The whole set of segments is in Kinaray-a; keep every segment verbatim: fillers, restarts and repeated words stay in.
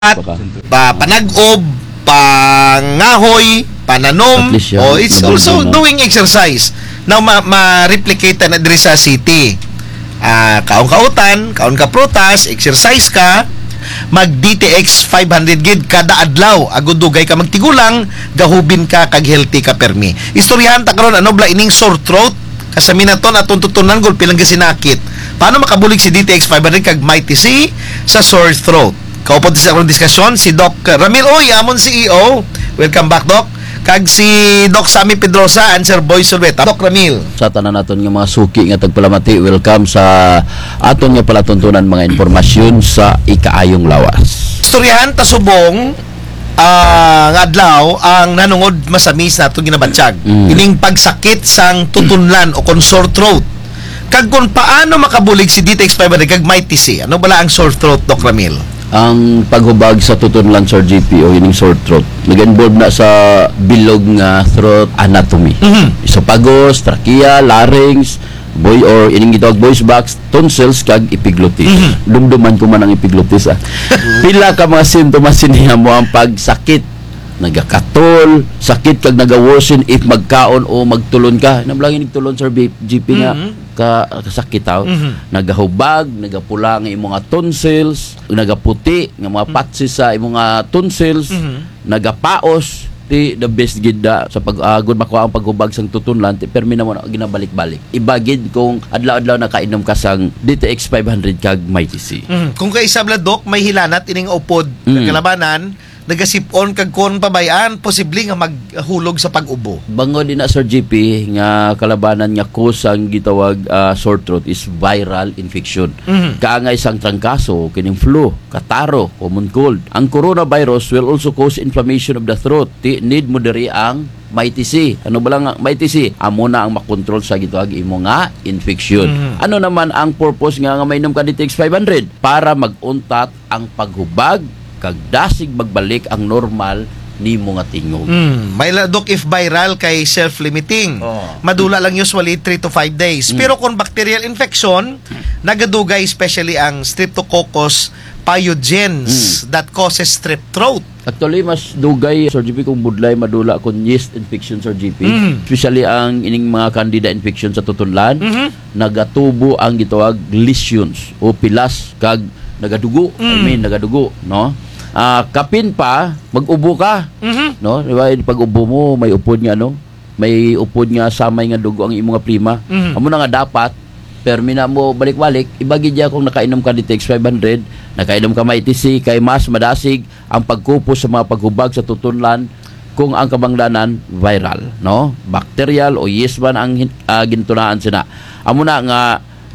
pa, panag-ob, pangahoy, pananom. At least, yeah, o, it's also doing exercise. Now, ma-, ma-replicate na diri sa city. Ah, kaon ka utan, kaon ka prutas, exercise ka, mag D T X five hundred gid kada adlaw. Agud dugay ka magtigulang, gahubin ka, kag healthy ka permi. Istoryahan ta karon, ano bala ining sore throat? Kasami naton, atong tutunlan, gulpi lang ka sinakit. Paano makabulig si D T X five hundred kag Mighty C sa sore throat? Kaupod sa akong diskasyon, si Doc Ramil Uy, amon C E O. Welcome back, Doc. Kag si Doc Sammy Pedrosa, and Sir Boy Solveta. Doc Ramil. Sa tanan naton nga mga suki nga tagpalamati, welcome sa aton nga palatuntunan mga impormasyon sa ikaayong lawas. Istoryahan ta subong, ah, nga adlaw ang nanungod masami sa atong ginabatyag. Mm. Ining pagsakit sang tutunlan o kon sore throat. Kag kon paano makabulig si D T X five hundred kag Mighty C. Ano bala ang sore throat, Doc Ramil? Ang paghubag sa tutunlan, Sir G P, o ining sore throat, nag-involve na sa bilog nga throat anatomy. Mhm. Esophagus, trachea, larynx, boy, or ining gitawag voice box, tonsils, kag epiglottis. Mhm. Dumduman ko man ang epiglottis, ah. Pila ka mga sintomas sini, amo ang pagsakit. Nagakatol, sakit kag naga-worsen if magkaon o magtulon ka. Nablangi nagtulon, Sir B-, G P, nga Mhm. ka-, kasakit, aw. Mhm. Nagahubag, nagapula nga imong mga tonsils, nagaputi nga mga patsi sa imong mga tonsils, Mhm. nagapaos, ti the best gid da sa pag-, ah, agud makuha ang paghubag sang tutunlan, ti permi namo na ginabalik-balik. Iba gid kung adlaw-adlaw nakainom ka sang D T X five hundred kag Mighty C. Mhm. Kung kaisa bala, Doc, may hilanat ining upod, Mm. kalabanan, nagasip-on kag kon pabay-an, posible nga maghulog sa pag-ubo. Bangod ina, Sir G P, nga kalabanan nga cause sang gitawag, ah, sore throat is viral infection. Mhm. Kaangay sang trangkaso, kining flu, kataro, common cold. Ang coronavirus will also cause inflammation of the throat. Ti need mo diri ang Mighty C. Ano bala nga Mighty C? Amo na ang makontrol sa gitawag imo nga infection. Mhm. Ano naman ang purpose nga, nga mainom ka D T X five hundred? Para mag-untat ang paghubag, kag dasig magbalik ang normal nimo nga tingog. Mm, may la, Doc, if viral kay self-limiting. Oo. Madula lang usually three to five days. Mm. Pero kung bacterial infection, nagadugay especially ang Streptococcus pyogenes Mm. that causes strep throat. Actually, mas dugay, Sir G P, kung budlay madula kung yeast infection, Sir G P. Mm. Especially ang ining mga candida infection sa tutunlan. Mhm. Nagatubo ang gitawag lesions o pilas kag nagadugo. I Mm. mean, nagadugo, no? Ah, kapin pa, mag-ubo ka, Mhm. no? Di ba, pag-ubo mo, may upod nga, ano? May upod nga samay nga dugo ang imo nga plema. Mhm. Amo na nga dapat, permi na mo balik-balik, iba gid ya kung nakainom ka D T X five hundred, nakainom ka Mighty C, kay mas madasig ang pagkupos sa mga paghubag sa tutunlan kung ang kabangdanan viral, no? Bacterial o yeast man ang hin-, ah, gintunaan sina. Amo na nga,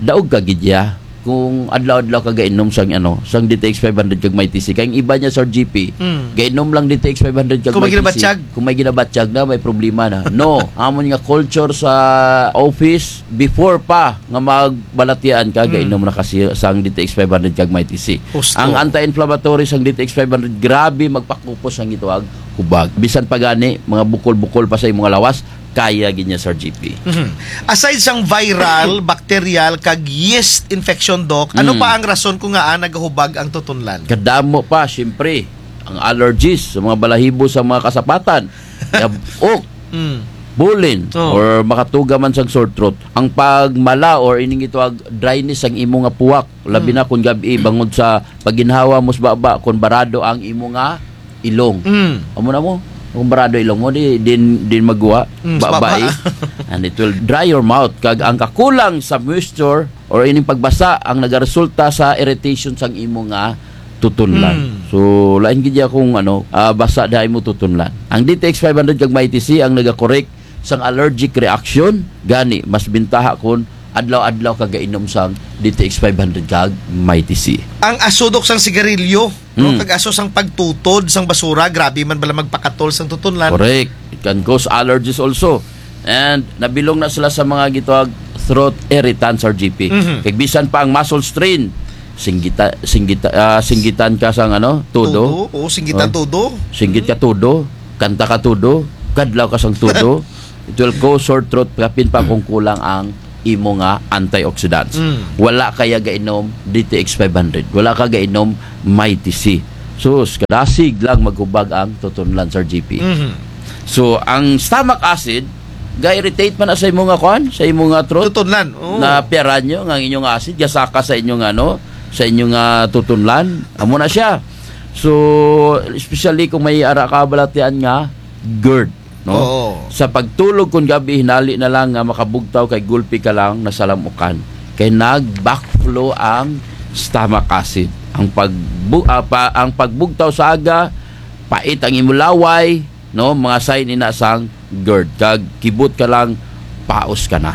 daog ka gid ya kung adlaw-adlaw ka gainom sang, ano, sang D T X five hundred kag Mighty C. Kay ang iba niya, Sir G P, Mm. gainom lang D T X five hundred kag Kung may Mighty C. ginabatyag. Kung may ginabatyag na, may problema na. No, amon nga culture sa office, before pa nga magbalatian ka, Mm. gainom na ka sang D T X five hundred kag Mighty C. Husto. Ang anti-inflammatory sang D T X five hundred, grabe magpakupos ang gitawag hubag. Bisan pa gani, mga bukol-bukol pa sa imong lawas, kaya gid niya, Sir G P. Mhm. Aside sang viral, bacterial, kag yeast infection, Doc, ano Mm. pa ang rason kung ngaa nagahubag ang tutunlan? Kadamo pa, siyempre, ang allergies sa mga balahibo sa mga kasapatan, yab-ok, Mm. bulin, Oh. or makatuga man sang sore throat. Ang pagmala or ining gitawag dryness ang imo nga puwak, labi Mm. na kung gab-i, bangod sa pagginhawa mo sa baba, kung barado ang imo nga ilong. Mm. Amo na mo, kung barado ilong mo, di, din, din magwa, Mm, sa baba, baba. Eh. And it will dry your mouth. Kag ang kakulang sa moisture or ining pagbasa ang nagaresulta sa irritation sang imo nga tutunlan. Mm. So, lain gid ya kung, ano, ah, basa da imo tutunlan. Ang D T X five hundred kag Mighty C ang nagakorek sang allergic reaction, gani mas bintaha kun adlaw-adlaw ka gainom sang D T X five hundred kag Mighty C. Ang aso, Doc, sang sigarilyo, no? Mm. Kag aso sang pagtutod sang basura, grabe man bala magpakatol sang tutunlan. Correct. It can cause allergies also. And nabilong na sila sa mga gitawag throat irritant, Sir G P. Mhm. Kag bisan pa ang muscle strain, singgita-, singgita-, ah, singgitan ka sang, ano, tudo. Tudo, oo, singgitan Oh. tudo. Singgit ka tudo, kanta ka tudo, kadlaw ka sang tudo. It will cause sore throat, kapin pa kung kulang ang imo nga antioxidants. Mm. Wala ka ya gainom D T X five hundred. Wala ka gainom Mighty C. Sus, kadasig lang maghubag ang tutunlan, Sir G P. Mhm. So, ang stomach acid, ga-irritate man na sa imo nga kuan, sa imo nga throat. Tutunlan, oo. Na piyaran nyo, nga ang inyong acid, gasaka sa inyong ano, sa inyong, ah, tutunlan. Amo na siya. So, especially kung may ara ka balatian nga GERD, no? Oo. Sa pagtulog kon gabi, hinali na lang nga makabugtaw kay gulpi ka lang nasalamukan. Kay nag-backflow ang stomach acid. Ang pagbu-, ah, pa-, ang pagbugtaw sa aga, pait ang imo laway, no? Mga sign ina sang GERD. Kag kibot ka lang, paos ka na.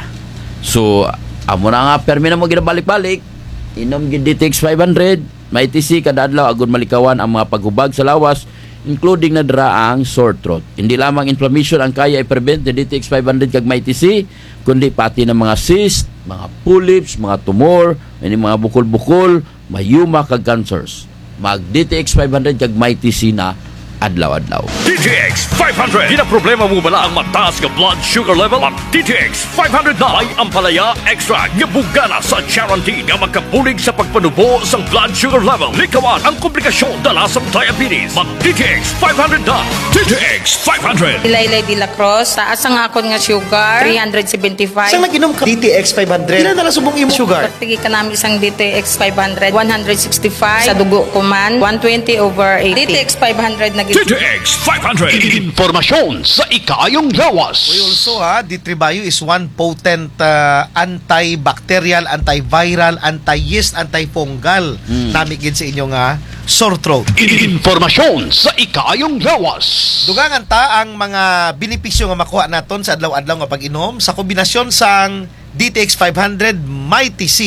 So, amo na nga, permi na mo ginabalik-balik. Inom gid D T X five hundred, Mighty C kada adlaw, agud malikawan ang mga paghubag sa lawas, including na dira ang sore throat. Hindi lamang inflammation ang kaya i-prevent ni D T X five hundred kag Mighty C, kundi pati na mga cyst, mga polyps, mga tumor, ini mga bukol-bukol, myoma kag cancers. Mag D T X five hundred kag Mighty C na adlaw-adlaw. D T X five hundred. Ginaproblema mo bala ang mataas nga blood sugar level? Mag D T X five hundred na. May ampalaya extract nga bugana sa charantin nga makabulig sa pagpanubo sang blood sugar level. Likawan ang komplikasyon dala sang diabetes. Mag D T X five hundred na. D T X five hundred. Laylay de la Cruz, taas ang akon nga sugar, three hundred seventy-five. Sang nag-inom ka D T X five hundred, pila na lang subong imo sugar? Pagpigi kanami sang D T X five hundred, one hundred sixty-five. Sa dugo ko man, one twenty over eighty. D T X five hundred na gid. D T X five hundred. Impormasyon sa ikaayong lawas. We also, ha, D three Bio is one potent, ah, antibacterial, antiviral, anti-yeast, antifungal. Hmm. Nami gid sa inyo nga sore throat. Impormasyon sa ikaayong lawas. Dugangan ta ang mga benepisyo nga makuha naton sa adlaw-adlaw nga pag-inom sa kombinasyon sang D T X five hundred, Mighty C,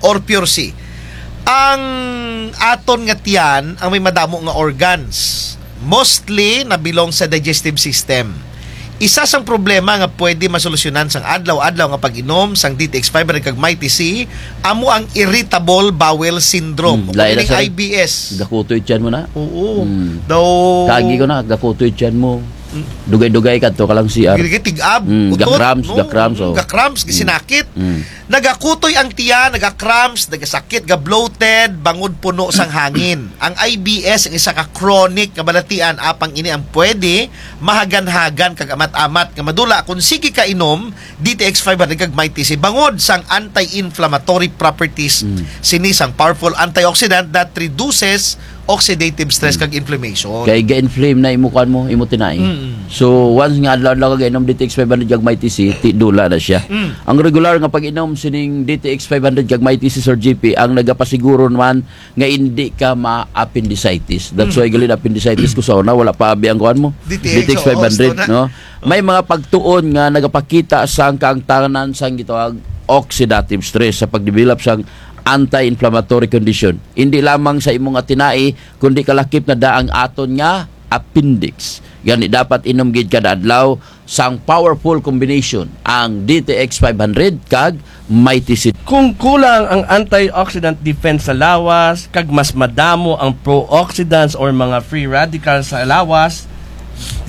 or Pure C. Ang aton nga tiyan, ang may madamo nga organs, mostly na belong sa digestive system. Isa sang problema nga pwede masolusyonan sang adlaw-adlaw nga pag-inom sang D T X five hundred kag Mighty C, amo ang irritable bowel syndrome. Hmm, o lain na, meaning sir. I B S. Gakutoy tiyan mo na. Oo. Hmm. Daw. Kaagi ko na, gakutoy tiyan mo. Mm. Dugay-dugay kadto ka lang C R. Dugay-dugay, tig-ab, mm, utot, ga-cramps, no? Ga-cramps, mm, oh. Ga-cramps, mm, gasinakit. Mm. Nagakutoy ang tiyan, naga-cramps, nagasakit, ga-bloated, bangod puno sang hangin. Ang I B S ang isa ka chronic nga balatian, apang ini ang pwede mahagan-hagan kag amat-amat nga madula kon sige ka inom D T X five hundred kag Mighty C bangod sang anti-inflammatory properties, mm, sini sang powerful antioxidant that reduces oxidative stress, mm, kag inflammation. Kay ga-inflame na imo kuan mo, imo tinai. Mm. So, once nga adlaw-adlaw ka ga-inom D T X five hundred kag Mighty C, ti dula na siya. Mm. Ang regular nga pag-inom sining D T X five hundred kag Mighty C, Sir G P, ang nagapasiguro naman nga indi ka ma-appendicitis. That's why gali na appendicitis ko sa una, wala pa abi ang kuan mo. D T X, D T X five hundred, oo, gusto na, no? May mga pagtuon nga nagapakita sang kaangtanan sang gitawag oxidative stress sa pagdevelop sang anti-inflammatory condition. Indi lamang sa imo nga tinai, kundi kalakip na da ang aton nga appendix. Gani dapat inom gid kada adlaw sang powerful combination ang D T X five hundred kag Mighty C. Kung kulang ang antioxidant defense sa lawas, kag mas madamo ang pro-oxidants or mga free radicals sa lawas,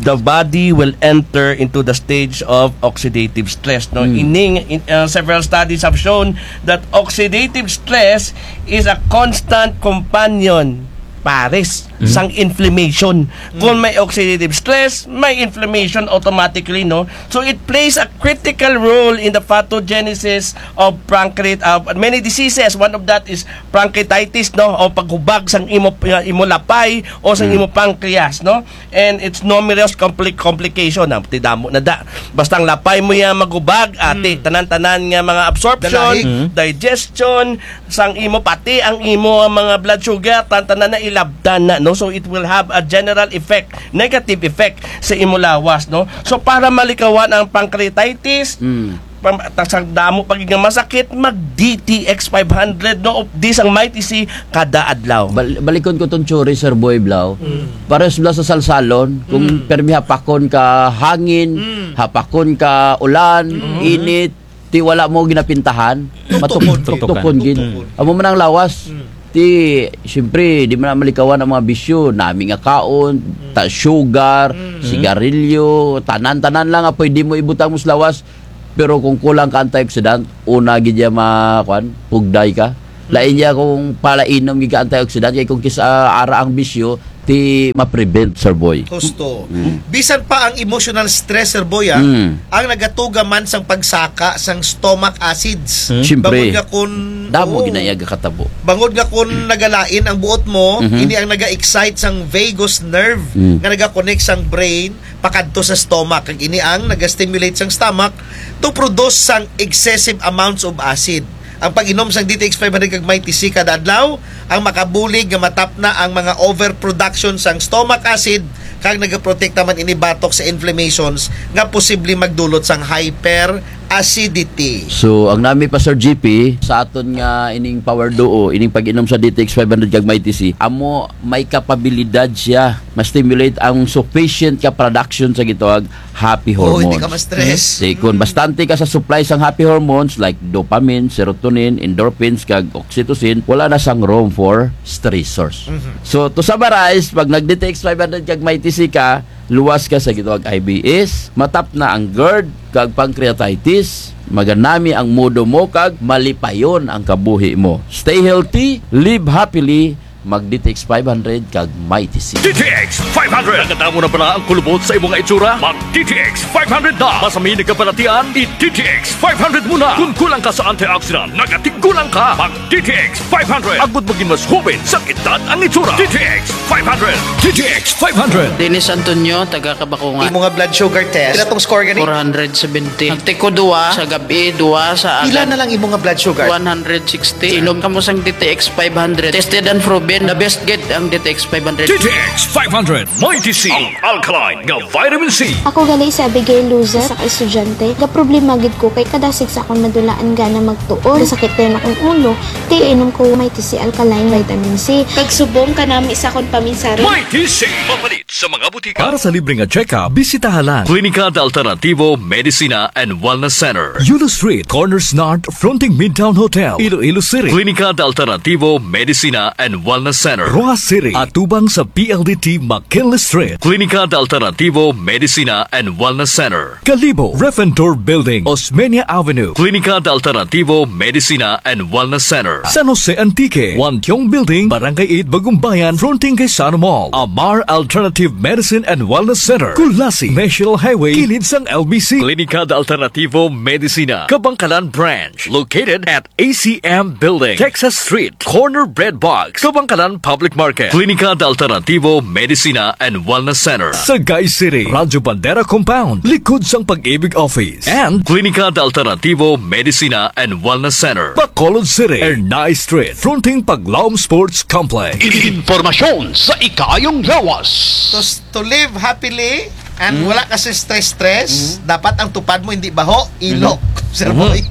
the body will enter into the stage of oxidative stress, no? Mm. Ining, in, uh, several studies have shown that oxidative stress is a constant companion, pares, mm, sang inflammation. Mm. Kung may oxidative stress, may inflammation automatically, no? So it plays a critical role in the pathogenesis of pancreat-, uh, many diseases. One of that is pancreatitis, no? O paghubag sang imo, uh, imo lapay o sang, mm, imo pancreas, no? And its numerous compli-, complication. Ah, ti damo na da. Basta ang lapay mo ya maghubag, ati, mm, tanan-tanan nga mga absorption, dalahi, mm, digestion, sang imo, pati ang imo mga blood sugar, tan-, tanan na ilabtan na, no? So it will have a general effect, negative effect sa imo lawas, no? So para malikawan ang pancreatitis, mm, pam-, ta-, sa damo pa gid nga masakit, mag D T X five hundred, no? Of this ang Mighty C kada adlaw. Bal-, balikon ko tong theory, Sir Boy Blau. Mm. Parehas bala sa salsalon, kung, mm, permi hapakon ka hangin, mm, hapakon ka ulan, mm, init, ti wala mo ginapintahan, tuktukon, matuk-, tuktukon gid. Tuktukon. Amo man ang lawas. Mm. Ti, siyempre, di man na malikawan ang mga bisyo, nami nga kaon, mm, ta-, sugar, mm, sigarilyo, tanan-tanan lang nga pwede mo ibutang mo sa lawas. Pero kung kulang ka antioxidant, una gid ya ma-, kuan, pugday ka. Lain ya kung palainom gid ka antioxidant, kay kung kis-a ara ang bisyo, ti ma-prevent, Sir Boy. Husto. Mm. Bisan pa ang emotional stress, Sir Boy, ah, Mm. ang nagatuga man sang pagsaka sang stomach acids. Mm. Siyempre. Bangod nga kun, Damo oo. gid na iya gakatabo. Bangod nga kun nagalain ang buot mo, Mhm. ini ang naga-excite sang vagus nerve Mm. nga naga-connect sang brain pakadto sa stomach. Kag ini ang naga-stimulate sang stomach to produce sang excessive amounts of acid. Ang pag-inom sang D T X five hundred kag Mighty C kada adlaw, ang makabulig nga matapna ang mga overproduction sang stomach acid, kag nagaprotekta man ini batok sa inflammations nga posible magdulot sang hyperacidity. So, ang nami pa, Sir G P, sa aton nga ining power duo, ining pag-inom sa D T X five hundred kag Mighty C, amo may kapabilidad siya ma-stimulate ang sufficient ka production sa gitawag happy Oh, hindi hormones. ka ma-stress. Di kun Mm. bastante ka sa supply sang happy hormones like dopamine, serotonin, endorphins, kag oxytocin, wala na sang room for stressors. Mhm. So, to summarize, pag nag-D T X five hundred kag Mighty C ka, luwas ka sa gitawag I B S, matapna ang GERD, kag pancreatitis, maganami ang mood mo, kag malipayon ang kabuhi mo. Stay healthy, live happily, Mag D T X five hundred kag Mighty C. D T X five hundred. Nagadamo na bala ang kulubot sa imo nga itsura? Mag D T X five hundred na. Basta may nagkabalatian, i-D T X five hundred mo na. Kun kulang ka sa antioxidant, nagatigulang ka. Mag D T X five hundred. Agud magin mas hoben sang edad ang itsura. D T X five hundred. D T X five hundred. Dennis Antonio, taga Kabakungan. Imo nga blood sugar test, pila tong score gani? Four hundred seventy. Nagtiko duwa sa gab-i, duwa sa Pila agad. na lang imo nga blood sugar? One hundred sixty. Inom kamo sang D T X five hundred. Tested and proven, the best gid ang D T X five hundred. D T X five hundred, Mighty C, ang alkaline nga vitamin C. Ako gali si Abigail Luzar, isa ka estudyante. Gaproblema gid ko kay kada sigsakon madulaan gana magtuon. Gasakit dayon akon ulo. Ti inom ko Mighty C alkaline vitamin C. Kag subong kanami sa akon paminsaron. Mighty C. Mapalit sa mga butika. Para sa libre nga check-up, bisitaha lang Klinika de Alternativo Medicina and Wellness Center, Yulo Street, corner Snart, fronting Midtown Hotel, Iloilo City. Klinika de Alternativo Medicina and Wellness Center, Roxas City, atubang sa P L D T McKinley Street. Klinika de Alternativo Medicina and Wellness Center, Kalibo, Ref and Tour Building, Osmeña Avenue. Klinika de Alternativo Medicina and Wellness Center, San Jose Antique, Wantiong Building, Barangay eight, Bagumbayan, fronting kay Sano Mall. Amar Alternative Medicine and Wellness Center, Culasi, National Highway, kilid sang L B C. Klinika de Alternativo Medicina, Kabankalan Branch, located at A C M Building, Texas Street, corner Bread Box, Kabankalan Public Market. Klinika de Alternativo Medicina and Wellness Center, Sagay City, Radyo Bandera Compound, likod sang Pag-ibig Office. And Klinika de Alternativo Medicina and Wellness Center, Bacolod City, Ernai Street, fronting Paglaom Sports Complex. Impormasyon sa ikaayong lawas. To, s-, to live happily and Mm. wala ka sa stress-stress, Mm. dapat ang tupad mo hindi baho, ilok, Mm. Sir Mm. Boy.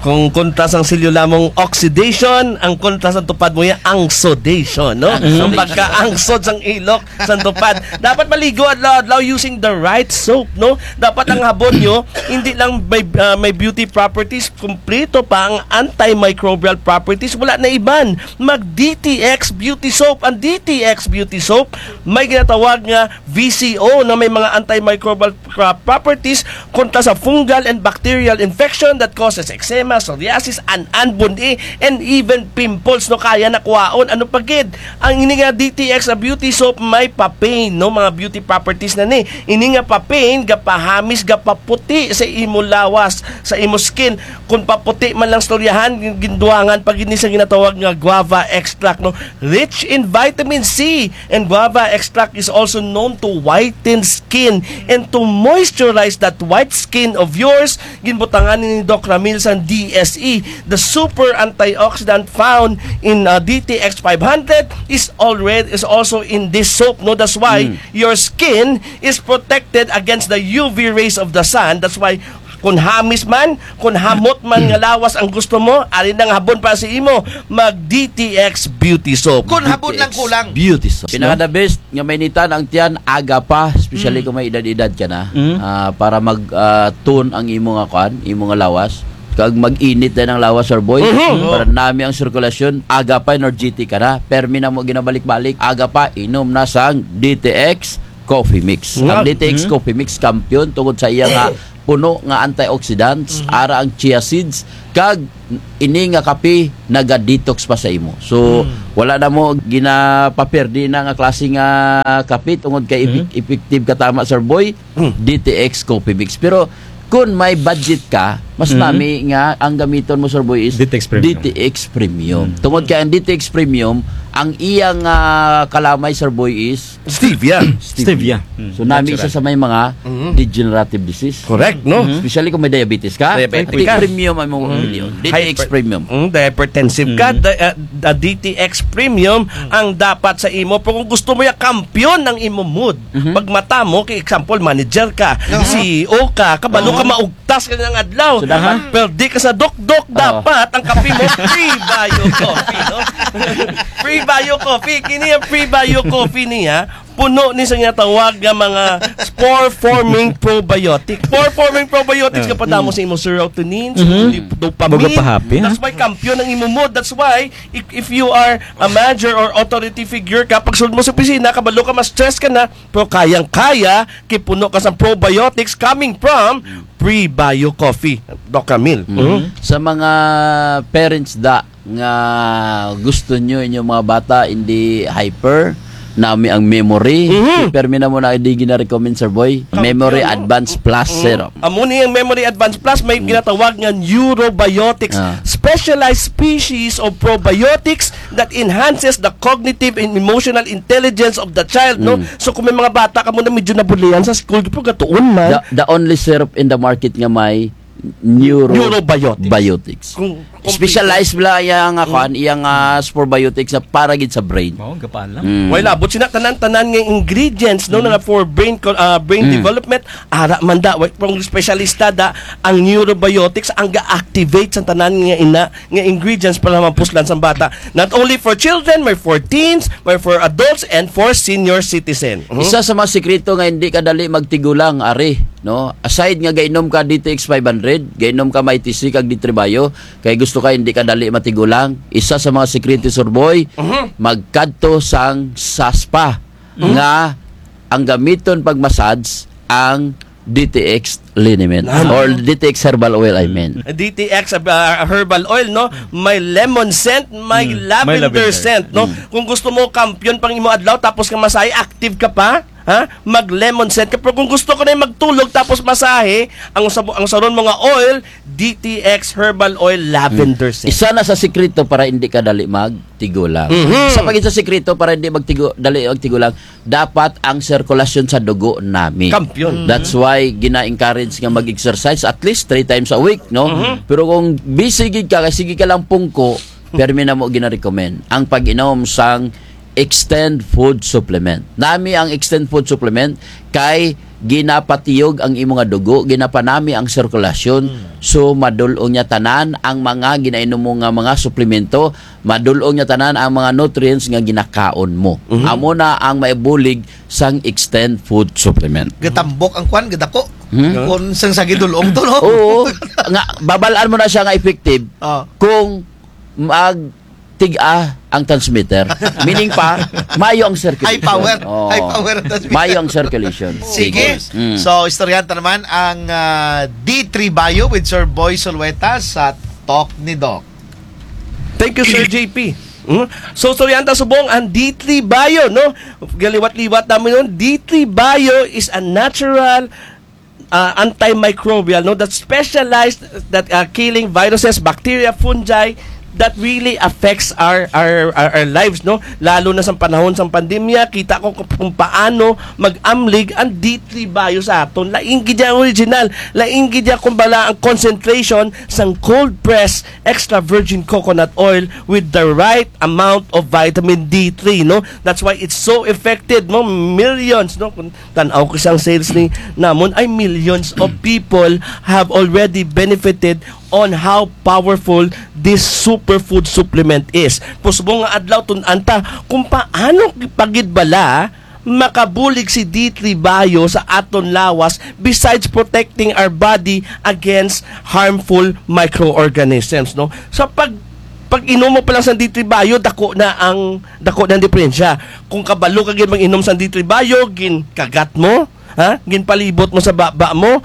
Kung kontra sang silyo lamang oxidation, ang kontra sang tupad mo ya ang sodation, no? Ang Ang sodation. pagkaangsod sang ilok, sang tupad. Dapat maligo adlaw-adlaw using the right soap, no? Dapat ang habon nyo, hindi lang may, ah, may beauty properties, kumpleto pa ang antimicrobial properties. Wala na iban. Mag D T X Beauty Soap. Ang D T X Beauty Soap, may ginatawag nga V C O na may mga antimicrobial pra-, properties kontra sa fungal and bacterial infection that causes eczema, psoriasis, an-an, bun-i, and even pimples, no, kaya na kuhaon. Ano pa gid? Ang ini nga D T X nga beauty soap may papain, no, mga beauty properties na ni. Ini nga papain, gapahamis, gapaputi sa imo lawas, sa imo skin. Kung paputi man lang istoryahan, gin-, gindugangan pa gid ni sa ginatawag nga guava extract, no? Rich in vitamin C, and guava extract is also known to whiten skin and to moisturize that white skin of yours. Ginbutangan ni Doc Ramil sang D S E. The super antioxidant found in, uh, D T X five hundred is already, is also in this soap, no? That's why Mm. your skin is protected against the U V rays of the sun. That's why Kun hamis man, kun hamot man nga lawas ang gusto mo, ari na nga habon para sa imo, mag D T X Beauty Soap. Kun habon lang kulang. Beauty Soap, no? Pinaka the best nga mainitan ang tiyan, aga pa, especially Mm. kung may edad-edad ka na, Mm. ah, para mag, ah, tone ang imo nga kuan, imo nga lawas. Kag mag-init din ang lawas, Sir Boy. Mhm. Para nami ang sirkulasyon, aga pa, energetic ka na. Permi na mo ginabalik-balik, aga pa, inom na sang D T X Coffee Mix. Nga, Ang D T X mm. Coffee Mix, kampiyon tungod sa iya nga puno nga antioxidants, ara ang chia seeds, kag ini nga kape naga-detox pa sa imo. So, wala na mo ginapaperdi na nga klase nga kape tungod kay epic-, effective ka tama, Sir Boy, D T X Coffee Mix. Pero kun may budget ka, mas nami nga ang gamiton mo, Sir Boy, is D T X Premium. D T X Premium. Tungod kay ang D T X Premium, ang iyang, ah, kalamay, Sir Boy, is Stevia. Stevia. So, nami isa sa may mga degenerative disease. Correct, no? Especially kung may diabetes ka. Diabetic ka. Premium ang mga D T X Premium. Mm, hypertensive ka, da-, ah, da-, D T X Premium ang dapat sa imo. Pero kung gusto mo ya kampiyon ang imo mood, pag mata mo, kay example, manager ka, C E O ka, kabalo ka maugtas ka nga adlaw. So, dapat perdi ka sa dokdok, dapat ang kape mo, Prebio Coffee, no? Prebio Coffee. Kini ang Prebio Coffee niya, puno ni sa ginatawag nga mga spore-forming probiotic. Spore-forming probiotics nga padamo sa imo serotonin, sa imo dop-, dopamine. Baga pa happy, ha? That's why kampiyon ang imo mood. That's why, if, if you are a manager or authority figure ka, pagsulod mo sa opisina, kabalo ka, ma-stress ka na, pero kayang-kaya, kay puno ka sa probiotics coming from Prebio Coffee, Doc Camille. Sa mga parents da nga gusto nyo inyo mga bata hindi hyper, nami ang memory, permi na mo na di gina-recommend, Sir Boy. Memory Advance Plus Syrup. Amo ni ang Memory Advance Plus, may ginatawag nga neurobiotics, specialized species of probiotics that enhances the cognitive and emotional intelligence of the child, no? So, kung may mga bata kamo na medyo nabulian sa school, pero gatuon man. The, the only syrup in the market nga may neuro-, Neurobiotics. Biotics. Kung, kung specialized bala iya nga kuan, iya nga spore biotics na para gid sa brain. Mao, gapaalam. Way labot sina tanan-tanan nga ingredients, no, nga for brain co-, ah, brain development, ara man da, way, kung espesyalista da, ang neurobiotics, ang ga-activate sa tanan nga ina, nga ingredients para mapuslan sa bata. Not only for children, may for teens, may for adults, and for senior citizen. Isa sa mga sikreto nga hindi ka dali magtigulang, ari, no? Aside nga gainom ka D T X five hundred, gainom ka Mighty C kag D three Bio, kay gusto ka hindi ka dali matigulang. Isa sa mga sikreto, Sir Boy, magkadto sang sa spa nga ang gamiton pag-massage ang D T X liniment or D T X herbal oil, I mean. D T X, ah, herbal oil, no? May lemon scent, may lavender scent, no? Kung gusto mo kampiyon pang imo adlaw, tapos nga masahe, active ka pa, ha? Mag lemon scent ka. Pero kung gusto ka na magtulog, tapos masahe, ang sabo-, ang saron mo nga oil, D T X herbal oil, lavender scent. Isa na sa sikreto para hindi ka dali magtigulang. Isa pa gid sa sikreto para hindi magtigo-, dali magtigulang, dapat ang sirkulasyon sa dugo nami. Kampiyon. That's why gina-encourage nga mag-exercise at least three times a week, no? Pero kung busy gid ka, kay sige ka lang pungko, permi na mo gina-recommend ang pag-inom sang Extend Food Supplement. Nami ang Extend Food Supplement kay ginapatiyog ang imo nga dugo, ginapanami ang sirkulasyon. So, madul-ong niya tanan ang mga ginainom mo nga mga suplemento, madul-ong niya tanan ang mga nutrients nga ginakaon mo. Amo na ang maibulig sang Extend Food Supplement. Gatambok ang kwan, gadako. Kung sang sa gidul-ong to, no? Oo. Nga, babal-an mo na siya nga effective kung magtig-a ang transmitter. Meaning pa, maayo ang circulation. High power. Oo. High power ang transmitter. Maayo ang circulation. Sige. So, istoryahan ta naman ang, ah, D three Bio with Sir Boy Solueta sa Talk ni Doc. Thank you, Sir J P. Mm. So, istoryahan ta subong ang D three Bio, no? Galiwat-liwat namun, no? D three Bio is a natural, ah, antimicrobial, no? That specialized, that, ah, killing viruses, bacteria, fungi that really affects our, our, our, our lives, no? Lalo na sa panahon sa pandemya, kita ko kung, kung paano mag-amlig ang D three Bio sa aton. Lain gid ang original, lain gid ang, kumbala, ang concentration sang cold press extra virgin coconut oil with the right amount of vitamin D three, no? That's why it's so effective, no? Millions, no? Kung tan-aw ko sang sales ni namun, ay millions of people have already benefited on how powerful this superfood supplement is. Pusubong nga adlaw, tun-an ta kung paano pa gid bala makabulig si D three Bio sa aton lawas, besides protecting our body against harmful microorganisms, no? Sa pag, pag-inom mo pa lang sa D three Bio, dako na ang, dako na ang diperensya. Kung kabalo ka gid mag-inom sa D three Bio, ginkagat mo, ha? Ginpalibot mo sa baba mo,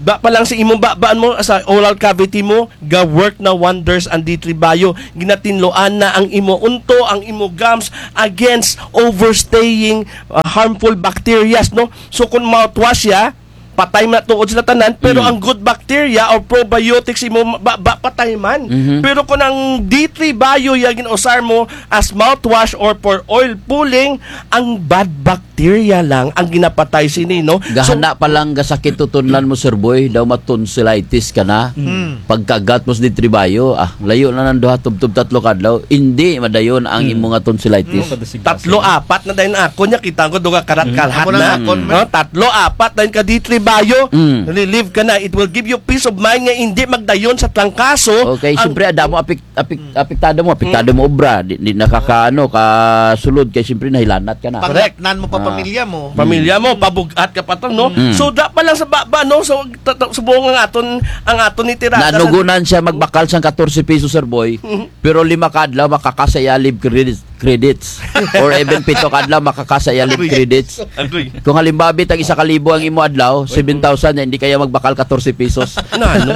Ba pa lang sa imong babaan mo, sa oral cavity mo, ga-work na wonders ang D three Bio. Ginatinloan na ang imo unto, ang imo gums against overstaying, ah, harmful bacterias, no? So, kung mouthwash siya, patay man tuod sila tanan, pero ang good bacteria or probiotics imo ba, ba patay man. Mhm. Pero kung ang D three Bio ya ginausar mo as mouthwash or for oil pulling, ang bad bacteria lang ang ginapatay sini, no? So, gahana pa lang gasakit tutunlan mo, Sir Boy, daw ma-tonsillitis ka na. Mm. Pagkagat mo sa D three Bio, ah, layo na nang duha, tubtob tatlo ka adlaw, indi madayon ang imo nga tonsillitis. Mm, tatlo, apat na dayon ako, nya kita ko duha karat-karat na. Amo na akon, man. No, tatlo, apat dayon ka D three Bio, relieve ka na. It will give you peace of mind nga indi magdayon sa trangkaso. Okay, siyempre, adamo apik-, apik-, apektado mo, apektado mo obra, di, di nakakaano, kasulod kay siyempre nahilanat ka na. Correct. Panglatnan mo pa pamilya mo. Pamilya mo, pabug-at ka pa to, no? Mm. So, da pa lang sa baba, no? So, ta-, ta-, subong ang aton, ang aton ni tirada sa nanugunan siya magbakal sang katorse piso, Sir Boy. Pero lima ka adlaw, makakasa iya leave credits, credits. Or even pito ka adlaw, makakasa iya leave credits. Agoy. Kung halimbawa, bitag isa ka libo ang imo adlaw, seven thousand, indi kaya magbakal katorse pisos. Na, ano?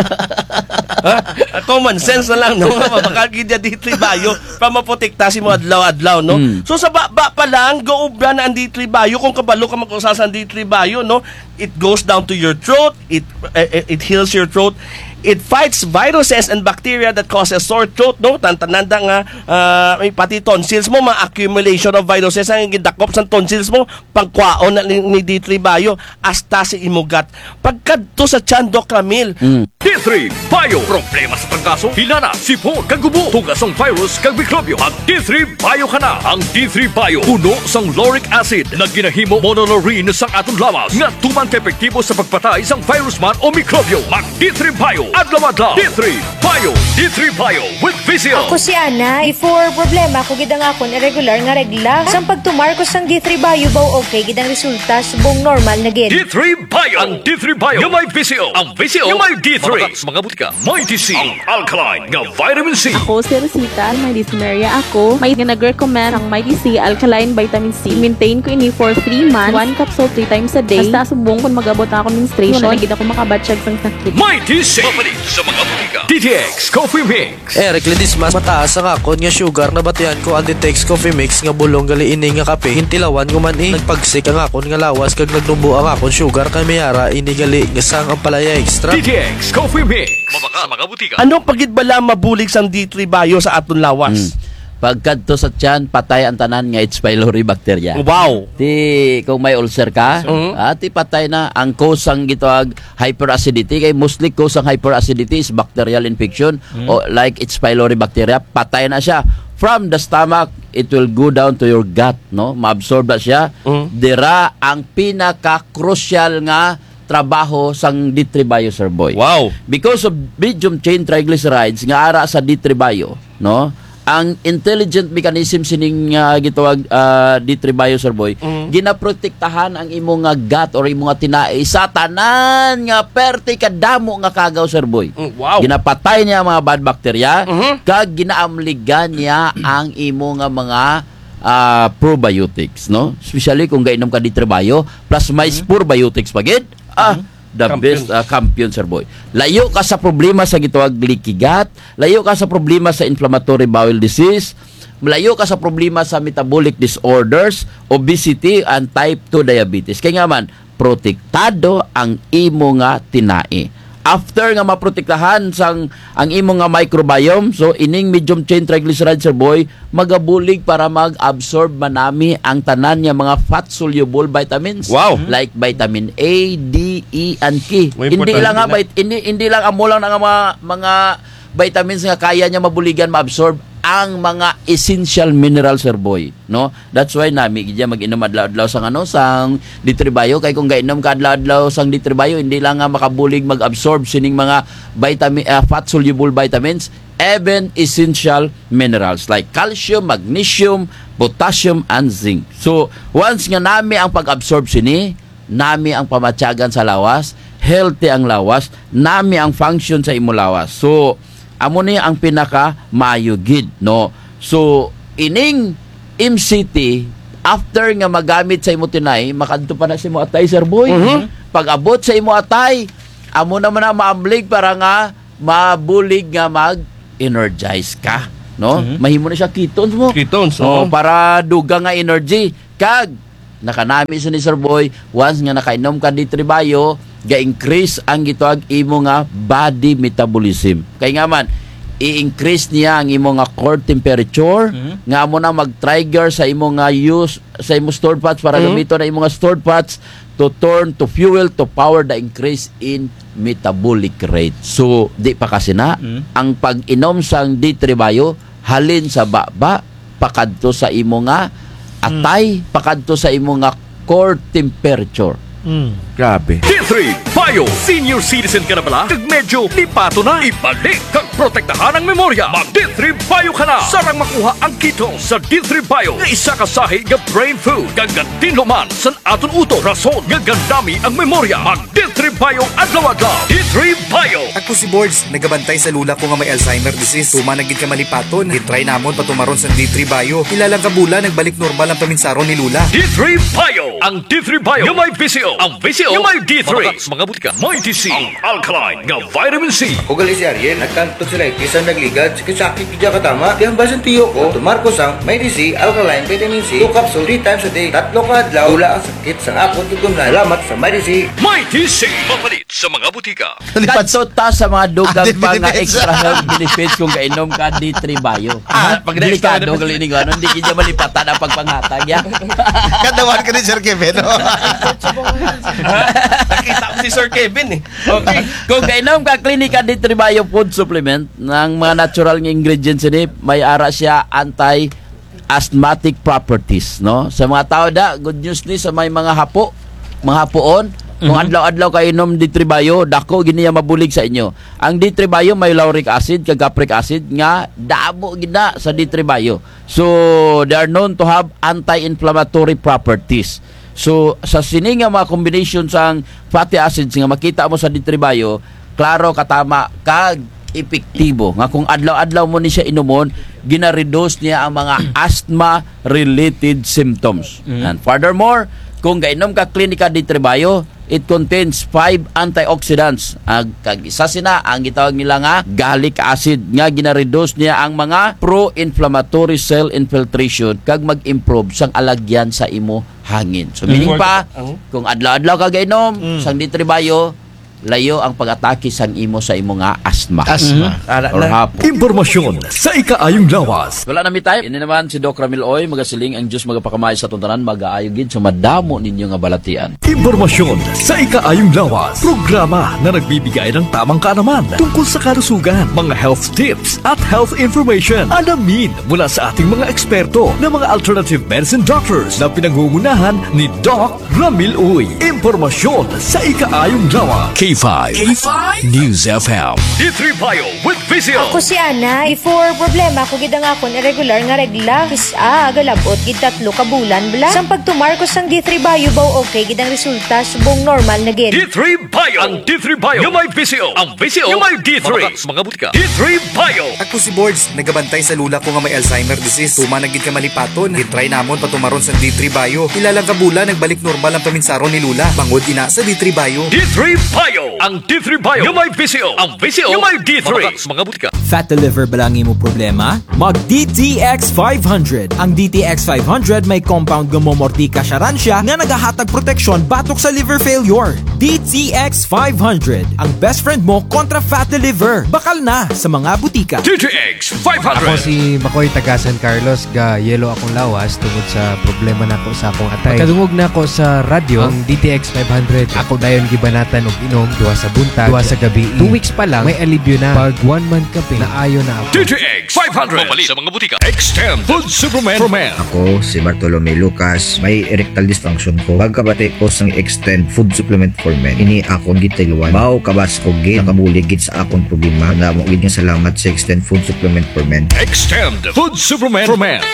Ha? Ah, common sense na lang, no? Mabakal gid ya D three Bio, pa maprotekta sa imo adlaw-adlaw, no? Mm. So, sa baba pa lang, gaobra na ang D three Bio, kung kabalo ka mag-usar sa D three Bio, no? It goes down to your throat, it, eh, eh, it heals your throat, it fights viruses and bacteria that causes sore throat, no? Tan-, tananda nga, ah, may pati tonsils mo, ma-accumulation of viruses ang gidakop sa tonsils mo, pangkwaon na ni, ni D three Bio, hasta sa imo gut. Pagkadto sa tiyan, Doc Ramil. Mm. D three Bio. Problema sa trangkaso, hilanat, sipon, kag ubo, tuga sang virus kag mikrobyo. Mag D three Bio ka na. Ang D three Bio, puno sang lauric acid, nga ginahimo monolaurin sang aton lawas, nga tuman ka epektibo sa pagpatay sang virus man o mikrobyo. Mag D three Bio, adlaw-adlaw. D three Bio, D three Bio with V C O. Ako si Ana. Before, problema ko gid ang akon irregular nga regla. Sang pagtumar ko sang D three Bio, baw okay gid ang resulta, subong normal na gid. D three Bio. Ang D three Bio nga may V C O. Ang V C O nga may D three. Mabakal sa mga butika. Mighty C, ang alkaline nga vitamin C. Ako si Rosita, may dysmenorrhea ako. May nag-recommend ang Mighty C alkaline vitamin C. Maintain ko ini for three months. One capsule three times a day. Hasta subong kon mag-abot ang akon menstruation, wala na gid ako makabatyag sang sakit. Mighty C. Mapalit sa mga butika. D T X Coffee Mix. Eric Ledesma, mataas ang akon nga sugar, nabatian ko ang D T X Coffee Mix nga bulong gali ini nga kape. Gintilawan ko man, eh. Nagpagsik ang akon nga lawas kag nagnubo ang akon sugar, kay may ara ini gali nga sang Ampalaya Extra. D T X Coffee Mix. Mabakal sa mga butika. Ano pa gid bala mabulig sang D three Bio sa aton lawas? Hmm. Pagkadto sa tiyan, patay ang tanan nga H. pylori bacteria. Wow! Ti, kung may ulcer ka, ah, ti patay na ang cause sang gitawag hyperacidity, kay mostly cause ang hyperacidity is bacterial infection, o like H. pylori bacteria, patay na siya. From the stomach, it will go down to your gut, no? Maabsorb na siya. Dira ang pinaka-crucial nga trabaho sang D three Bio, Sir Boy. Wow. Because of medium chain triglycerides nga ara sa D three Bio, no? Ang intelligent mechanism sining, ah, gitawag, ah, D three Bio, Sir Boy, ginaprotektahan ang imo nga gut or imo nga tinai sa tanan nga perte kadamo nga kagaw, Sir Boy. Mm, wow. Ginapatay niya ang mga bad bacteria, kag ginaamligan niya ang imo nga mga, ah, probiotics, no? Especially kung gainom ka D three Bio, plus may probiotics pa gid. Ah, the best, ah, kampiyon, Sir Boy. Layo ka sa problema sa gitawag leaky gut, layo ka sa problema sa inflammatory bowel disease, layo ka sa problema sa metabolic disorders, obesity, and type two diabetes. Kay nga man, protektado ang imo nga tinai. After nga maprotektahan sang ang imo nga microbiome, so ining medium chain triglyceride, Sir Boy, magabulig para mag-absorb manami ang tanan nga mga fat-soluble vitamins. Wow. Like vitamin A, D, E, and K. Hindi lang nga vit-, hindi, hindi lang amo lang nga mga, mga vitamins nga kaya niya mabuligan, maabsorb ang mga essential minerals, Sir Boy, no? That's why nami gid ya mag-inom adlaw-adlaw sang ano, sang D three Bio, kay kung gainom ka adlaw-adlaw sang D three Bio, hindi lang nga makabulig mag-absorb sining mga vitamin, ah, fat-soluble vitamins, even essential minerals like calcium, magnesium, potassium, and zinc. So, once nga nami ang pag-absorb sini, nami ang pamatyagan sa lawas, healthy ang lawas, nami ang function sa imo lawas. So, amo ni ang pinaka maayo gid, no? So, ining M C T, after nga magamit sa imo tinai, makadto pa na sa imo atay, Sir Boy. Mhm. Pag-abot sa imo atay, amo na man ang maamlig para nga mabulig nga mag-energize ka, no? Mhm. Mahimo na siya ketones mo. Ketones, Oh, oo. para dugang nga energy. Kag nakanami si ni Sir Boy, once nga nakainom ka D three Bio, ga-increase ang gitawag imo nga body metabolism. Kay nga man, i-increase niya ang imo nga core temperature, Mhm. nga amo na mag-trigger sa imo nga use, sa imo stored fats para Mhm. gamiton ang imo nga stored fats to turn to fuel to power the increase in metabolic rate. So, di pa kasi na, Mhm. ang pag-inom sang D three Bio, halin sa baba, pakadto sa imo nga atay, pakadto sa imo nga core temperature. Mm. Grabe. D three Bio! Senior citizen ka na bala? Kag medyo lipaton na? Ibalik kag protektahan ang memorya. Mag D three Bio ka na! Sarang makuha ang ketones sa D three Bio nga isa ka sahi nga brain food. Kag gatinlo man san aton utok, rason nga gandami ang memorya. Mag D three Bio adlaw-adlaw. D three Bio! Ako si Bords, nagabantay sa lola ko nga may Alzheimer disease. Tuman na gid ka malipaton. Gitry namon patumaron sa D three Bio. Pila lang ka bulan, nagbalik normal ang paminsaron ni lola. D three Bio! Ang D three Bio nga may V C O. Ang V C O nga may D three. Mabakal sa mga butika. May D C. Ang alkaline nga vitamin C. Ako gali si Ariel, nagka-tonsillitis ang nagligad. Sakit-sakit gid katama. Ti ang basin tiyo ko, tumar ko sang May D C, alkaline vitamin C, two capsule, three times a day. Tatlo ka adlaw, wala ang sakit sang akon tutunlan. Salamat sa May D C. May D C. Mapalit sa mga butika. Kadto ta sa mga dugang pa nga extra health benefits kung gainom ka D three Bio. Ah, pag next Delikado time na gali ni ano, hindi gid malipatan ang pagpanghatag, ya. Kadawan ka ni Sir Kevin, no? Nakita ko si Sir Kevin, eh. Okay. Kung gainom ka Klinika D three Bio food supplement, ang mga natural nga ingredients ini, may ara siya anti-asthmatic properties, no? Sa mga tao da, good news ni sa may mga hapo, mga hapoon, kung Mhm. adlaw-adlaw ka inom D three Bio, dako gid niya mabulig sa inyo. Ang D three Bio may lauric acid kag capric acid nga damo gid na sa D three Bio. So, they are known to have anti-inflammatory properties. So, sa sini nga mga combination sang fatty acids nga makita mo sa D three Bio, klaro, katama kag epektibo nga kung adlaw-adlaw mo ni siya inumon, gina-reduce niya ang mga asthma-related symptoms. Mm. And furthermore, kung gainom ka Klinika D three Bio, it contains five antioxidants. Ag, kag isa sina ang gitawag nila nga gallic acid nga gina-reduce niya ang mga pro-inflammatory cell infiltration kag mag-improve sang alagyan sa imo hangin. So, meaning pa, kung adlaw-adlaw ka gainom sang D three Bio, layo ang pag-atake sang imo sa imo nga asthma. Asthma. Ara na. Or hapo. Impormasyon sa ikaayong lawas. Wala na mi time. Ini naman si Doc Ramil Uy, magasiling ang Diyos magapakamay sa aton tanan, magaayo gid sa madamo ninyo nga balatian. Impormasyon sa ikaayong lawas. Programa na nagbibigay ng tamang kaalaman tungkol sa kalusugan, mga health tips, at health information. Alamin mula sa ating mga eksperto na mga alternative medicine doctors na pinangungunahan ni Doc Ramil Uy. Impormasyon sa ikaayong lawas. K five. K five News F M. D three Bio with V C O. Ako si Ana. Before, problema ko gid ang akon irregular nga regla. Kis-a, galab-ot gid tatlo ka bulan bala. Sang pagtumar ko sang D three Bio, baw okay gid ang resulta, subong normal na gid. D three Bio. Ang D three Bio nga may V C O. Ang V C O nga may D three. Mabakal sa mga butika. D three Bio. Ako si Bords, nagabantay sa lola ko nga may Alzheimer disease. Tuman na gid ka malipaton. Gitry namon patumaron sang D three Bio. Pila lang ka bulan, nagbalik normal ang paminsaron ni lola. Bangod ina sa D three Bio. D three Bio. Ang D three Bio nga may V C O. Ang V C O nga may D three. Mabakal sa mga butika. Fatty liver bala ang imo problema? Mag D T X five hundred. Ang D T X five hundred may compound nga momortikas siya nga nagahatag proteksyon batok sa liver failure. D T X five hundred, ang best friend mo kontra fatty liver. Bakal na sa mga butika. D T X five hundred. Ako si Makoy, taga San Carlos, ga-yellow akong lawas tungod sa problema nako sa akong atay. Pagkadungog nako sa radyo, ang D T X five hundred, ako dayon gibanatan og inom duha sa buntag, duha sa gabii. Two weeks pa lang, may alibyo na. Pag one month kapin, naayo na ako. D T X five hundred. Mapalit sa mga butika. Extend Food Supplement for Men. Ako si Bartolome Lucas, may erectile dysfunction ko. Pagkabati ko sang Extend Food Supplement for Men, ini akon gitiluan. Baw kabas ko gid, nakabulig gid sa akon problema. Damo gid nga salamat sa Extend Food Supplement for Men. Extend Food Supplement for Men.